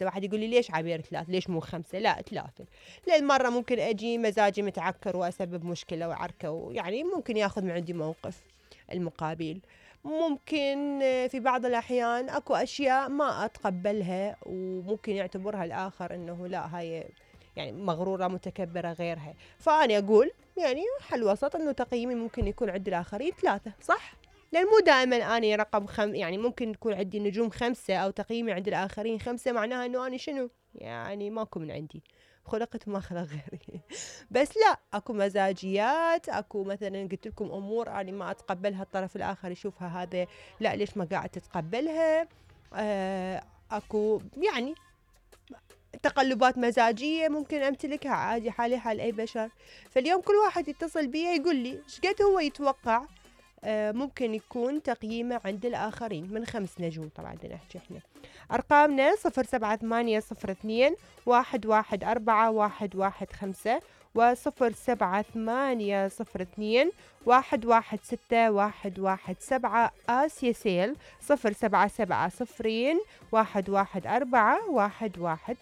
5. واحد يقول لي ليش عبير 3 ليش مو 5؟ لا 3 لأن مرة ممكن أجي مزاجي متعكر وأسبب مشكلة وعركة، ويعني ممكن ياخذ من عندي موقف المقابل. ممكن في بعض الأحيان أكو أشياء ما أتقبلها وممكن يعتبرها الآخر إنه لا هاي يعني مغرورة متكبرة غيرها، فأنا أقول يعني حل وسط إنه تقييمي ممكن يكون عند الآخرين 3 صح؟ لأن مو دائما أنا رقم يعني ممكن يكون عندي نجوم 5 أو تقييمي عند الآخرين 5 معناها إنه أنا شنو يعني ماكو من عندي، خلقت ما خلق غيري. بس لا اكو مزاجيات، اكو مثلا قلت لكم امور انا ما اتقبلها الطرف الاخر يشوفها هذا لا ليش ما قاعد تتقبلها. اكو يعني تقلبات مزاجية ممكن امتلكها عادي حالي حال اي بشر. فاليوم كل واحد يتصل بي يقول لي ايش قد هو يتوقع ممكن يكون تقييمه عند الآخرين من 5 نجوم. طبعا بدنا نحكي احنا أرقامنا 07802 114 115 و07802 116117 آسيا سيل 077 114 115.